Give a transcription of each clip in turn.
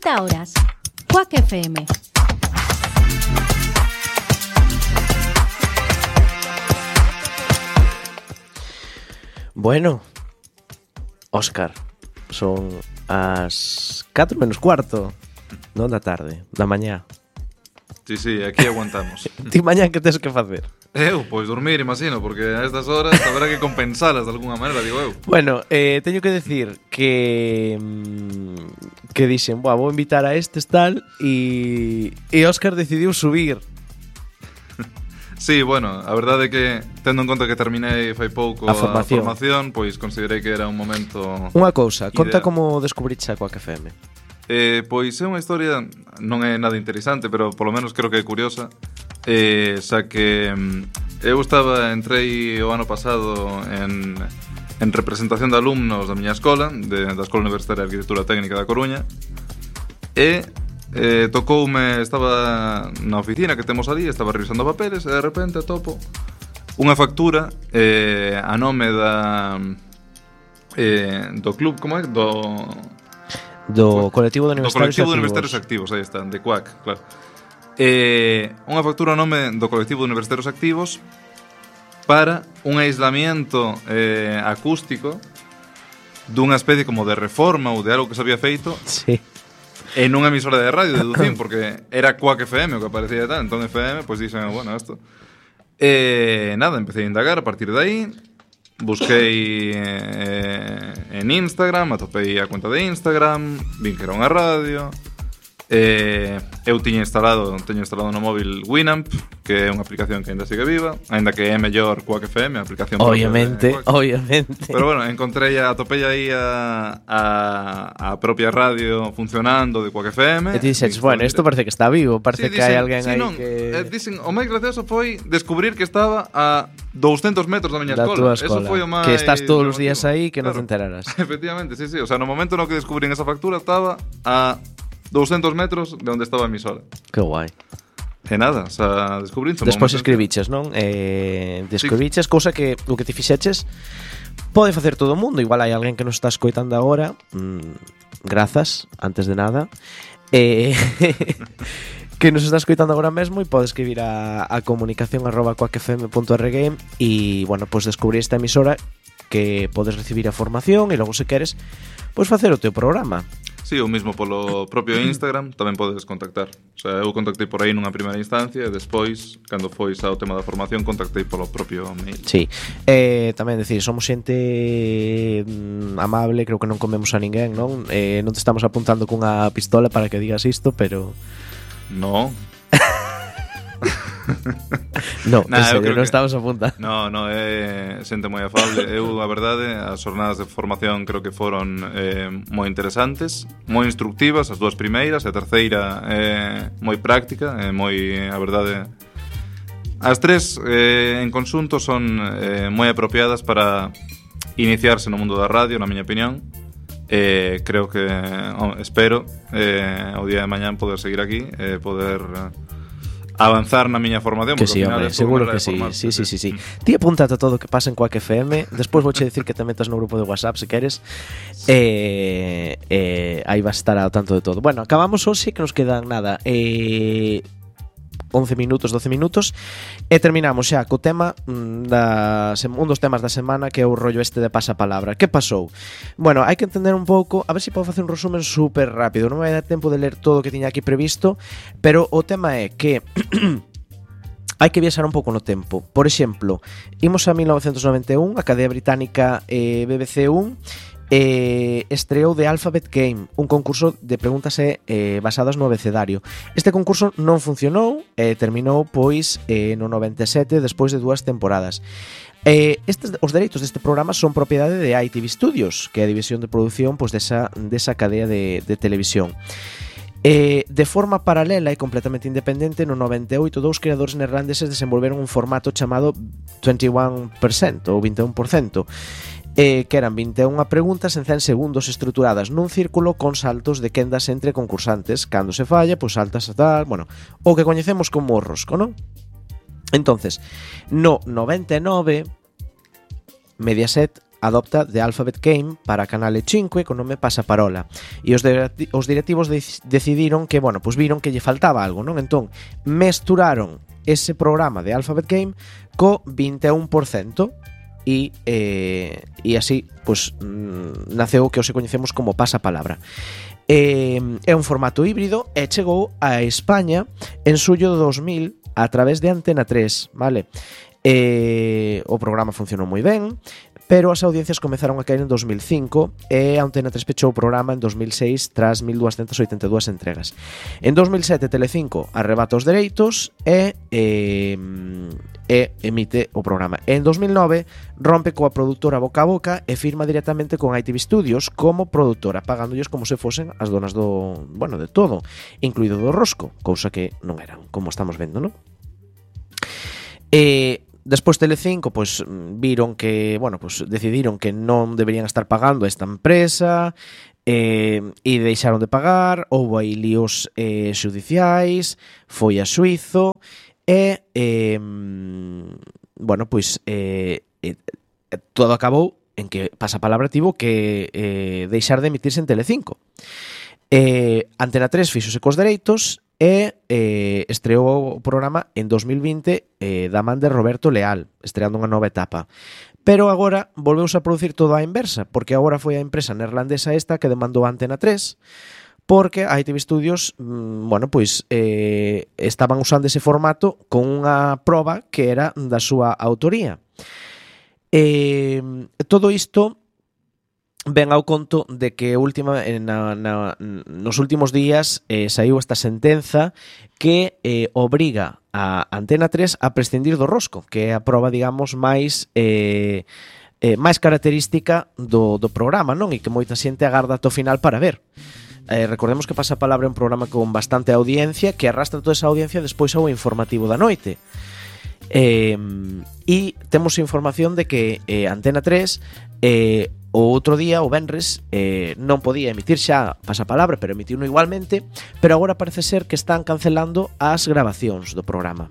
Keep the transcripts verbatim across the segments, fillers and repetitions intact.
treinta horas. Quack F M. Bueno, Óscar, son as catro menos cuarto, non da tarde, da mañá. Sí, sí, aquí aguantamos. Ti mañá que tes que facer? Eu, pois dormir, imagino, porque a estas horas habrá que compensalas de alguna maneira, digo eu. Bueno, eh, teño que decir que que dixen, boa, vou invitar a estes tal e, e Óscar decidiu subir. Sí, bueno, a verdade é que tendo en conta que terminei fai pouco A formación. a formación, pois considerei que era un momento. Unha cousa, conta ideal. como descubriches a Quack F M. Eh, pois é unha historia, non é nada interesante, pero polo menos creo que é curiosa. Eh, xa que mm, eu estaba, entrei o ano pasado en, en representación de alumnos da miña escola, de, da Escola Universitaria de Arquitectura Técnica da Coruña, e eh, tocoume, estaba na oficina que temos ali, estaba revisando papeles e de repente atopo unha factura eh, a nome da eh, do club, como é? Do Do colectivo de do universitarios colectivo de activos. universitarios activos, aí está, de Quack, claro. Eh, unha factura a nome do colectivo de universitarios activos para un aislamiento eh, acústico dunha especie como de reforma ou de algo que se había feito Sí. en unha emisora de radio, deducín, porque era Quack F M o que aparecía e tal. Entón F M, pois dixen, bueno, isto. E nada, empecé a indagar a partir de aí. Busquei eh, en Instagram, atopei a conta de Instagram, vin que era unha radio. Eh, eu tiña instalado, teño instalado no móvil Winamp, que é unha aplicación que ainda sigue viva, aínda que é mellor Quack F M, a aplicación propia Obviamente, de Quack. obviamente. Pero bueno, encontrei a, atopei aí a, a, a propia radio funcionando de Quack F M. E ti dixes, bueno, isto parece que está vivo, parece Sí, que hai dicen- alguén sí, aí non, que... eh, dicen, o máis gracioso foi descubrir que estaba a douscentos metros da miña da escola. túa Eso escola. foi o máis Que estás todos os días llamativo. aí que non te Claro. enteraras. Efectivamente, sí, sí. O sea, no momento no que descubrín esa factura estaba a douscentos metros de onde estaba a emisora. Que guai. E nada, o sea, descubrín. Despois escribiches, non? Eh, describiches, cousa que o que ti fixeches pode facer todo o mundo. Igual hai alguén que nos está escoitando agora. Mm, grazas, antes de nada. Eh, que nos está escoitando agora mesmo e pode escribir a, a comunicación arroba quack f m punto org e, bueno, pois pues descubrir esta emisora que podes recibir a formación e logo, se queres, pois facer o teu programa. Sí, o mismo polo propio Instagram tamén podes contactar. O sea, eu contactei por aí nunha primeira instancia e despois, cando foi ao tema da formación, contactei polo propio mail. Sí, eh, tamén decir, somos xente mm, amable, creo que non comemos a ninguén, non? Eh, non te estamos apuntando cunha pistola para que digas isto, pero... No. No, Nah, en eu serio, creo non que- estamos apuntando. No, no, é xente moi afable. Eu, a verdade, as jornadas de formación creo que foron eh, moi interesantes, moi instructivas, as dúas primeiras, e a terceira é moi práctica, é moi, a verdade... As tres eh, en conxunto son eh, moi apropiadas para iniciarse no mundo da radio, na miña opinión. Eh, creo que, oh, espero, eh, o día de mañán poder seguir aquí, eh, poder... Eh, avanzar na miña formación, Que porque sí, ao final hombre, é seguro maneira que de sí. formarse, Sí, sí, sí, sí. Ti apúntate a todo o que pasa en Quack F M. Despois vouche decir que te metas no grupo de WhatsApp se queres. Eh, eh, aí vas a estar ao tanto de todo. Bueno, acabamos hoxe, que nos quedan nada. Eh, once minutos, doce minutos e terminamos xa co tema mm, da, un dos temas da semana, que é o rollo este de pasapalabra. Que pasou? Bueno, hai que entender un pouco, a ver se podo facer un resumen super rápido, non me vai dar tempo de ler todo o que tiña aquí previsto, pero o tema é que hai que viaxar un pouco no tempo. Por exemplo, imos a mil novecentos noventa e un, a cadea británica eh, B B C uno eh, estreou The Alphabet Game, un concurso de preguntas eh, basadas no abecedario. Este concurso non funcionou e eh, terminou pois eh, no noventa e sete, despois de dúas temporadas. Eh, estes, os dereitos deste programa son propiedade de I T V Studios, que é a división de produción pois, desa, desa cadea de, de televisión. Eh, de forma paralela e completamente independente, no noventa e oito dous creadores neerlandeses desenvolveron un formato chamado vinte e un por cento ou vinte e un por cento, eh, que eran vinte e unha preguntas en cen segundos estruturadas nun círculo con saltos de quendas entre concursantes. Cando se falla, pois saltas a tal, bueno, o que coñecemos como o rosco, non? Entonces, no noventa e nove, Mediaset adopta The Alphabet Game para Canale cinco co nome Pasaparola. E os, de, os directivos de, decidiron que, bueno, pues viron que lle faltaba algo, non? Entón, mesturaron ese programa de Alphabet Game co vinte e un por cento e, eh, e así, pues, mm, naceu o que hoxe coñecemos como Pasapalabra. Eh, é un formato híbrido e chegou a España en xullo de dos mil a través de Antena tres, vale? Eh, o programa funcionou moi ben, pero as audiencias comezaron a caer en dos mil cinco e a Antena tres pechou o programa en dos mil seis tras mil doscientas oitenta e dúas entregas. En dos mil sete Telecinco arrebata os dereitos e, e, e emite o programa. En dos mil nove rompe coa produtora Boca a Boca e firma directamente con I T V Studios como produtora, pagándolles como se fosen as donas do, bueno, de todo, incluído do rosco, cousa que non eran, como estamos vendo, non? E despois Telecinco, pois viron que, bueno, pois decidiron que non deberían estar pagando a esta empresa eh, e deixaron de pagar, houve aí líos eh, xudiciais, foi a xuizo e, eh, bueno, pois eh, eh, todo acabou en que Pasapalabra tivo que eh, deixar de emitirse en Telecinco. Eh, Antena tres fixose cos dereitos e eh, estreou o programa en dos mil vinte eh, da man de Roberto Leal, estreando unha nova etapa. Pero agora volveuse a producir todo á inversa, porque agora foi a empresa neerlandesa esta que demandou a Antena tres, porque a I T V Studios, mmm, bueno, pois eh, estaban usando ese formato con unha proba que era da súa autoría. Eh, todo isto ven ao conto de que última na, na, nos últimos días eh, saiu esta sentenza que eh, obriga a Antena tres a prescindir do rosco, que é a proba, digamos, máis eh, eh, máis característica do, do programa, non? E que moita xente agarda ata o final para ver. Eh, recordemos que Pasapalabra é un programa con bastante audiencia que arrastra toda esa audiencia despois ao informativo da noite. Eh, e temos información de que eh, Antena tres eh, o outro día, o venres, eh, non podía emitir xa Pasapalabra, pero emitiu igualmente, pero agora parece ser que están cancelando as grabacións do programa.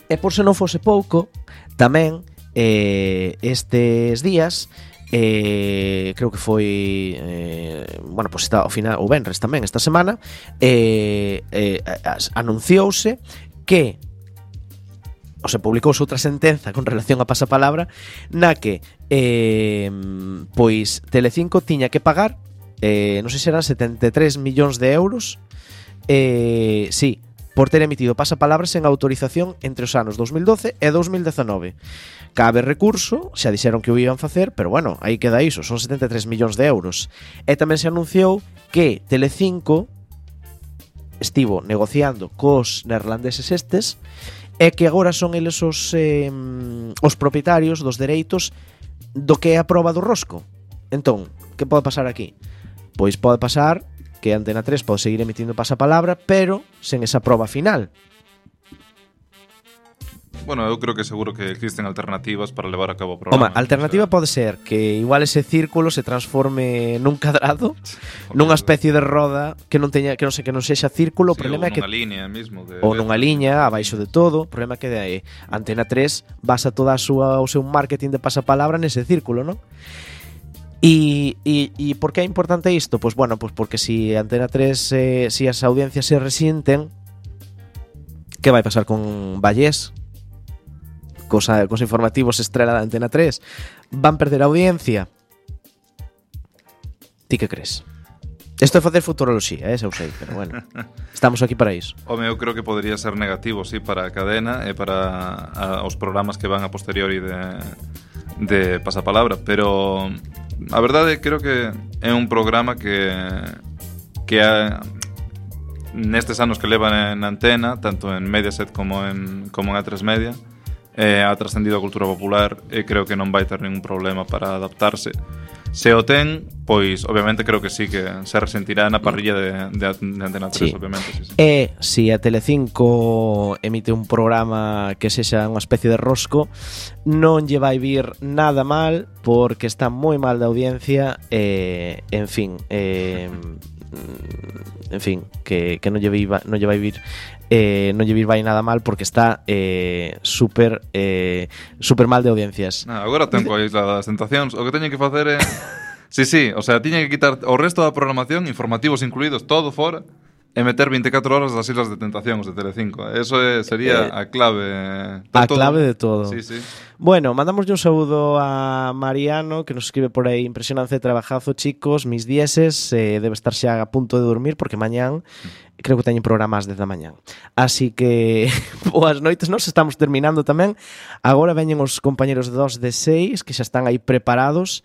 E por se non fose pouco, tamén eh, estes días, eh, creo que foi eh, bueno, pues está, ao final, o venres tamén esta semana, eh, eh, anunciouse que o se publicouse outra sentenza con relación a Pasapalabra na que eh, pois Telecinco tiña que pagar eh, non sei se eran setenta e tres millóns de euros eh, sí, por ter emitido Pasapalabra sen autorización entre os anos dos mil doce e dos mil dezanove. Cabe recurso, xa dixeron que o iban facer, pero bueno, aí queda iso, son setenta e tres millóns de euros. E tamén se anunciou que Telecinco estivo negociando cos neerlandeses estes é que agora son eles os, eh, os propietarios dos dereitos do que é a proba do rosco. Entón, que pode pasar aquí? Pois pode pasar que Antena tres pode seguir emitindo Pasapalabra, pero sen esa proba final. Bueno, eu creo que seguro que existen alternativas para levar a cabo o programa. Home, a alternativa o sea, pode ser que igual ese círculo se transforme nun cadrado, nunha especie de roda que non teña, que non sei, que non sexa círculo, sí, o problema é que nunha línea mismo de ou nunha liña abaixo de todo, o problema é que de Antena tres basa toda a súa o seu marketing de Pasapalabra nese círculo, non? E, e, e por que é importante isto? Pois bueno, pois porque si Antena tres eh, si as audiencias se resienten, que vai pasar con Vallés? Cosa, cos informativos estrela da Antena tres, van perder audiencia. Ti que crees? Isto é facer futuroloxía, eh, xa o sei, pero bueno, estamos aquí para iso. Home, eu creo que podría ser negativo, sí, para a cadena e para a, os programas que van a posteriori de, de Pasapalabra, pero a verdade creo que é un programa que que a, nestes anos que levan en antena, tanto en Mediaset como en, como en A tres Media, eh, ha trascendido a cultura popular e creo que non vai ter ningún problema para adaptarse. Se o ten, pois obviamente creo que sí que se resentirá na parrilla de, de, de Antena tres, sí. Obviamente, sí, sí. E se a Telecinco emite un programa que sexa unha especie de rosco, non lle vai vir nada mal, porque está moi mal de audiencia e, en fin, eh, en fin, que, que non lle vai, non lle vai vir eh, non lle vir vai nada mal porque está eh, super eh, super mal de audiencias. No, agora ten coa Isla das Tentacións. O que teñen que facer é... Sí, sí, o sea, tiñen que quitar o resto da programación, informativos incluídos, todo fora, e meter vinte e catro horas das Islas de Tentación os de Telecinco. Eso é, sería eh, a clave. A todo. clave de todo. Sí, sí. Bueno, mandamos un saúdo a Mariano, que nos escribe por aí: impresionante trabajazo, chicos, mis dieces, eh, debe estar xa a punto de dormir porque mañán creo que teñen programas desde a mañán. Así que boas noites, nos estamos terminando tamén. Agora veñen os compañeros de dos de seis que xa están aí preparados.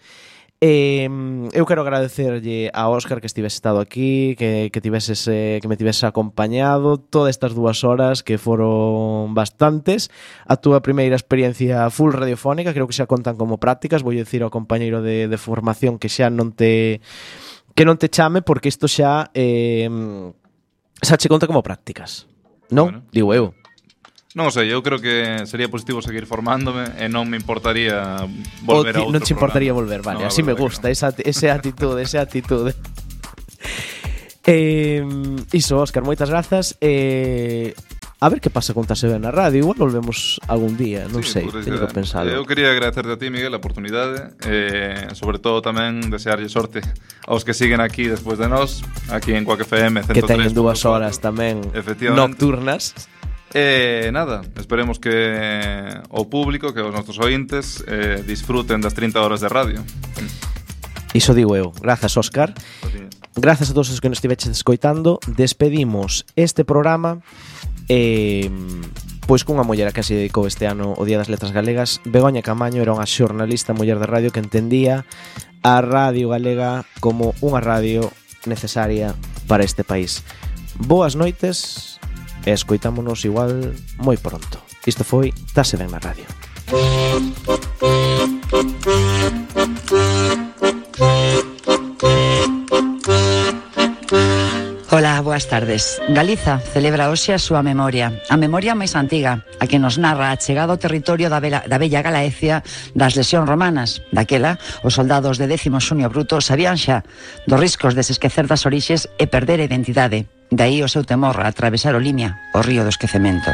Eh, eu quero agradecerlle a Óscar que estivese estado aquí, que, que, tiveses, eh, que me tivese acompañado todas estas dúas horas que foron bastantes. A túa primeira experiencia full radiofónica, creo que xa contan como prácticas. Vou dicir ao compañeiro de, de formación que xa non te que non te chame porque isto xa eh, xa che conta como prácticas, non? Bueno. Digo eu. Non sei, eu creo que sería positivo seguir formándome e non me importaría volver a outro programa. Non te importaría volver, vale, no, así me gusta, no. esa, esa actitude, esa actitude. eh, iso, Óscar, moitas grazas. Eh, a ver que pasa con Tase Ben na radio, igual volvemos algún día, non sí, sei, teño que pensarlo. Eu quería agradecerte a ti, Miguel, a oportunidade, eh, sobre todo tamén desearlle sorte aos que siguen aquí despois de nós, aquí en Quack F M ciento tres. Que teñen dúas horas tamén nocturnas. E eh, nada, esperemos que o público, que os nosos ointes eh, disfruten das trinta horas de radio. Iso digo eu. Grazas, Óscar. Grazas a todos os que nos estiveches escoitando. Despedimos este programa eh, pois cunha muller a que se dedicou este ano o Día das Letras Galegas. Begoña Camaño era unha xornalista muller de radio que entendía a radio galega como unha radio necesaria para este país. Boas noites e escoitámonos igual moi pronto. Isto foi Tase Ben na radio. Ola, boas tardes. Galiza celebra hoxe a súa memoria, a memoria máis antiga, a que nos narra a chegada ao territorio da, vela, da bella Galaecia das lesións romanas. Daquela, os soldados de décimo Xunio Bruto sabían xa dos riscos de se esquecer das orixes e perder a identidade. Daí o seu temor a atravesar o Limia, o río do esquecemento.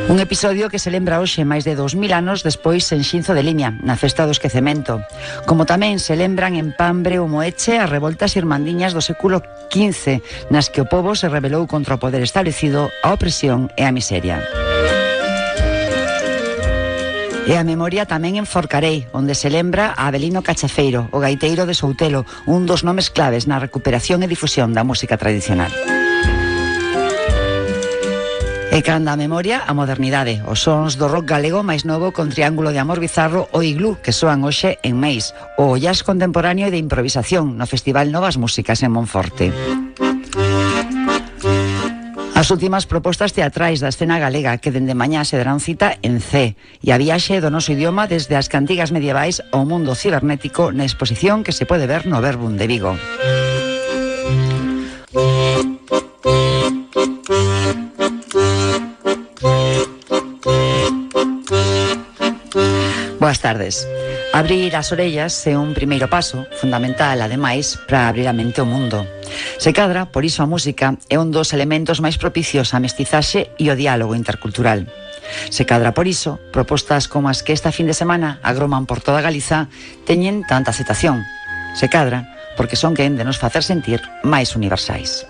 Un episodio que se lembra hoxe máis de dous mil anos despois en Xinzo de Limia, na festa do esquecemento. Como tamén se lembran en Pambre ou Moeche as revoltas irmandiñas do século quince, nas que o pobo se rebelou contra o poder establecido, a opresión e a miseria. E a memoria tamén en Forcarei, onde se lembra a Avelino Cachafeiro, o gaiteiro de Soutelo, un dos nomes claves na recuperación e difusión da música tradicional. E canda a memoria, a modernidade, os sons do rock galego máis novo con Triángulo de Amor Bizarro ou Iglú, que soan hoxe en Meis, o jazz contemporáneo e de improvisación no Festival Novas Músicas en Monforte. As últimas propostas teatrais da escena galega que dende mañá se darán cita en C e a viaxe do noso idioma desde as cantigas medievais ao mundo cibernético na exposición que se pode ver no Verbum de Vigo. Boas tardes. Abrir as orellas é un primeiro paso, fundamental, ademais, para abrir a mente ao mundo. Se cadra, por iso a música é un dos elementos máis propicios á mestizaxe e ao diálogo intercultural. Se cadra por iso, propostas como as que esta fin de semana agroman por toda Galiza teñen tanta aceptación. Se cadra porque son quen de nos facer sentir máis universais.